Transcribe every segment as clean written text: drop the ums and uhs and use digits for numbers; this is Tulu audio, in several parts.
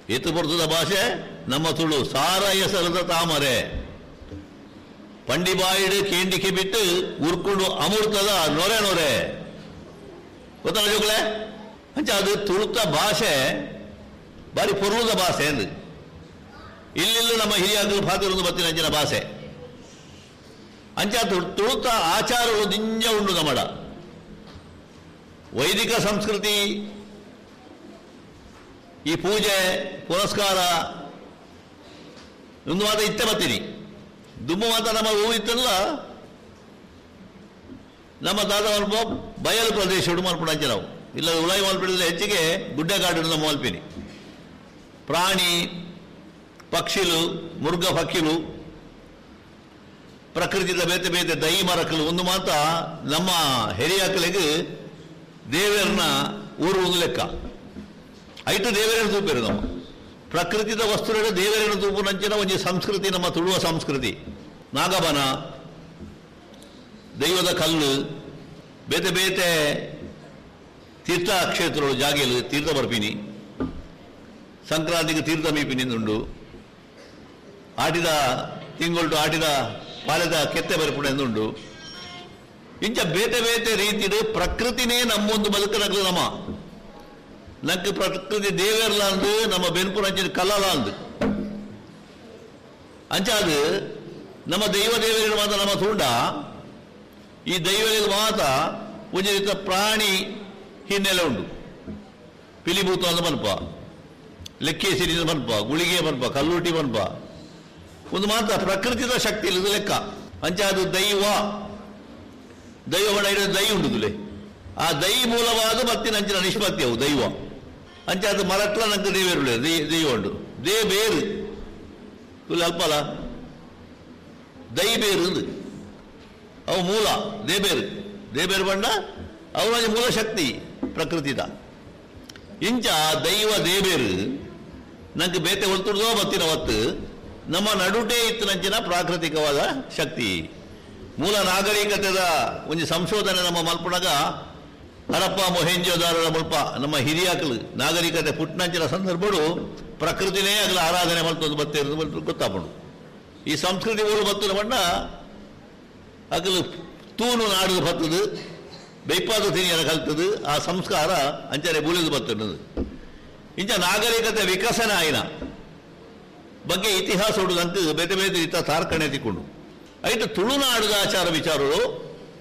ಏತು ಬರ್ತದ ಭಾಷೆ ನಮ್ಮ ತುಳು ಸಾರ ಹೆಸರದ ತಾಮರೆ ಪಂಡಿಬಾಯಿಡು ಕೇಂಡಿಕೆ ಬಿಟ್ಟು ಉರ್ಕೊಂಡು ಅಮೃತದ ನೊರೆ ನೊರೆ ಗೊತ್ತಲ್ಲ ಜೋಗ್ಲೆ ಅಂಚ ಅದು ತುಳುತ ಭಾಷೆ ಬಾರಿ ಪೊರ್ಲದ ಭಾಷೆ ಅಂದು ಇಲ್ಲಿಲ್ಲೂ ನಮ್ಮ ಹಿರಿಯಾಗಲು ಪಾತಿರೊಂದು ಬತ್ತಿನ ಅಂಚಿನ ಭಾಷೆ ಅಂಚ ತುಳುತ ಆಚಾರವು ದಿಂಜ ಉಂಡು ನಮ್ಮಡ ವೈದಿಕ ಸಂಸ್ಕೃತಿ ಈ ಪೂಜೆ ಪುರಸ್ಕಾರ ಒಂದು ಮಾತ ಇತ್ತೆ ಬತ್ತೀನಿ ದುಮ್ಮು ಮಾತ ನಮ್ಮ ಹೂ ಇತ್ತಲ್ಲ ನಮ್ಮ ತಾತ ಮಲ್ಪ ಬಯಲು ಪ್ರದೇಶ ಉಡು ಮಲ್ಪುಣ ಅಂಚೆ ನಾವು ಇಲ್ಲ ಉಳಾಯಿ ಮಲ್ಪಿಡಿದ್ರೆ ಹೆಚ್ಚಿಗೆ ಗುಡ್ಡೆಗಾಡು ನಮ್ಮ ಮಲ್ಪಿನಿ ಪ್ರಾಣಿ ಪಕ್ಷಿಲು ಮುರ್ಗ ಪಕ್ಷಿಲು ಪ್ರಕೃತಿದ ಬೇತೆ ಬೇತೆ ದೈ ಮರಕಲು ಒಂದು ಮಾತ ನಮ್ಮ ಹಿರಿಯಾಕಲಿಗೆ ದೇವರನ್ನ ಊರು ಒಂದು ಲೆಕ್ಕ ಐಟು ದೇವರನ್ನು ತೂಪೇರು ನಮ್ಮ ಪ್ರಕೃತಿದ ವಸ್ತುಗಳ ದೇವರನ್ನು ತೂಪು ನಂಚಿನ ಒಂಜಿ ಸಂಸ್ಕೃತಿ ನಮ್ಮ ತುಳುವ ಸಂಸ್ಕೃತಿ ನಾಗಬನ ದೈವದ ಕಲ್ಲು ಬೇತೆ ಬೇತೆ ತೀರ್ಥ ಕ್ಷೇತ್ರಗಳು ಜಾಗೆಲು ತೀರ್ಥ ಬರ್ಪಿನಿ ಸಂಕ್ರಾಂತಿಗೆ ತೀರ್ಥ ಮೀಪಿನಿಂದುಂಡು ಆಟಿದ ತಿಂಗೊಳ್ಟು ಆಟಿದ ಪಾಲೆದ ಕೆತ್ತೆ ಬರ್ಪುಣ ಎಂದುಂಡು ಇಂಚ ಬೇತೆ ಬೇತೆ ರೀತಿಡು ಪ್ರಕೃತಿನೇ ನಮ್ಮೊಂದು ಬದುಕನಗ್ಲು ನಮ್ಮ ನಂಗೆ ಪ್ರಕೃತಿ ದೇವೇರ್ಲ ಅಂದು ನಮ್ಮ ಬೆನ್ಪುರ ಅಂಚಿನ ಕಲ್ಲಲ ಅಂದು ಅಂಚ ಅದು ನಮ್ಮ ದೈವ ದೇವರಿಗೆ ಮಾತ್ರ ನಮ್ಮ ತುಂಡ ಈ ದೈವರಿಗೆ ಮಾತ್ರ ಒಂಜಿ ರೀತಿಯ ಪ್ರಾಣಿ ಹಿನ್ನೆಲೆ ಉಂಡು ಪಿಲಿಭೂತ ಅಂದ ಮನ್ಪ ಲೆಕ್ಕೆ ಸಿರಿದ ಮನ್ಪ ಗುಳಿಗೆ ಮನ್ಪ ಕಲ್ಲುಟಿ ಮನ್ಪ ಒಂದು ಮಾತ್ರ ಪ್ರಕೃತಿದ ಶಕ್ತಿ ಇಲ್ಲದ ಲೆಕ್ಕ ಅಂಚ ಅದು ದೈವ ದೈವ ಬಣ ದೈ ಉಂಡುದುಲೆ ಆ ದೈ ಮೂಲವಾದ ಮತ್ತಿನ ಅಂಚಿನ ನಿಷ್ಪತ್ತಿ ಅವು ದೈವ ಅಂಚ ಅದು ಮರಟ್ಲ ನಂಗೆ ದೇವೇರುಳೆ ದೈವ ಉಂಡು they ಬೇರು ತುಲೆ ಅಲ್ಪಲ್ಲ ದೈ ಬೇರು ಅಂದು ಅವು ಮೂಲ ದೇಬೇರು ದೇಬೇರು ಬಣ್ಣ ಅವರ ಮೂಲ ಶಕ್ತಿ ಪ್ರಕೃತಿದ ಇಂಚ ದೈವ ದೇಬೇರು ನಂಗೆ ಬೇತೆ ಒಲ್ತುಡ್ದೋ ಬತ್ತಿನ ಒತ್ತು ನಮ್ಮ ನಡುಟೇ ಇತ್ತು ನಂಚಿನ ಪ್ರಾಕೃತಿಕವಾದ ಶಕ್ತಿ ಮೂಲ ನಾಗರಿಕತೆದ ಒಂದು ಸಂಶೋಧನೆ ನಮ್ಮ ಮಲ್ಪುಣಗ ಹರಪ್ಪ ಮೊಹೆಂಜೋದಾರರ ಮುಲ್ಪ ನಮ್ಮ ಹಿರಿಯಾಕಲು ನಾಗರಿಕತೆ ಪುಟ್ಟನಂಚಿನ ಸಂದರ್ಭಡು ಪ್ರಕೃತಿನೇ ಆಗಲ ಆರಾಧನೆ ಮಲ್ತೊಂದು ಬತ್ತೆ ಗೊತ್ತಾಪುಂಡು ಈ ಸಂಸ್ಕೃತಿ ಊರು ಬತ್ತದ ಬಣ್ಣ ಅಗಲು ತೂನು ನಾಡು ಬತ್ತದು ಬೈಪಾದ ತಿನಿಯರ ಕಲ್ತದು ಆ ಸಂಸ್ಕಾರ ಅಂಚನೆ ಬೂಲಿದು ಬತ್ತದು ಇಂಚ ನಾಗರಿಕತೆ ವಿಕಸನ ಆಯ್ನ ಬಗ್ಗೆ ಇತಿಹಾಸ ಉಡುದಂತ ಬೇತೆ ಬೇತೆ ರೀತಿಯ ತಾರ್ಕಣೆ ತಿಕ್ಕೊಂಡು ಐತು ತುಳುನಾಡುದ ಆಚಾರ ವಿಚಾರಗಳು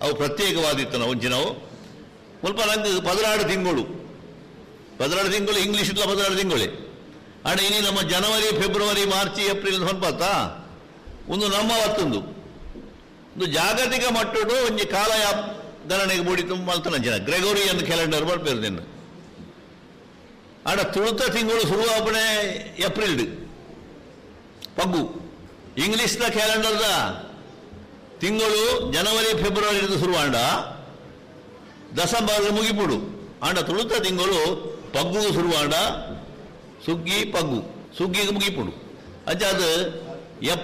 ಅವು ಪ್ರತ್ಯೇಕವಾದಿತ್ತು ನಾವು ಒಂಚಿನವು ಮುಲ್ಪ ನಂಗೆ 16 ತಿಂಗಳು 16 ತಿಂಗಳು ಇಂಗ್ಲೀಷ್ ಇಲ್ಲ 16 ತಿಂಗಳೇ ಆಡ ಇನಿ ನಮ್ಮ ಜನವರಿ ಫೆಬ್ರವರಿ ಮಾರ್ಚ್ ಏಪ್ರಿಲ್ ಸ್ವಲ್ಪ ಒಂದು ನಮ್ಮ ಹೊತ್ತೊಂದು ಒಂದು ಜಾಗತಿಕ ಮಟ್ಟಡು ಒಂಜಿ ಕಾಲ ಗಣನೆಗೆ ಮೂಡಿ ತುಂಬ ಮಲ್ತನ ಜನ ಗ್ರೆಗೋರಿಯನ್ ಕ್ಯಾಲೆಂಡರ್ ಬರ್ಪೇರು ನಿನ್ನ ಆಡ ತುಳುತ ತಿಂಗಳು ಶುರುವಾಪಣೆ ಏಪ್ರಿಲ್ ಪಗ್ಗು ಇಂಗ್ಲೀಷ್ನ ಕ್ಯಾಲೆಂಡರ್ದ ತಿಂಗಳು ಜನವರಿ ಫೆಬ್ರವರಿ ಶುರುವಾಂಡ ದಸಂಬರ್ ಮುಗಿಪುಡು ಆಂಡ ತುಳುತ ತಿಂಗಳು ಪಗ್ಗು ಶುರುವಾಂಡ ಸುಗ್ಗಿ ಪಗ್ಗು ಸುಗ್ಗಿಗೆ ಮುಗಿಪುಡು ಅಂಚ ಅದು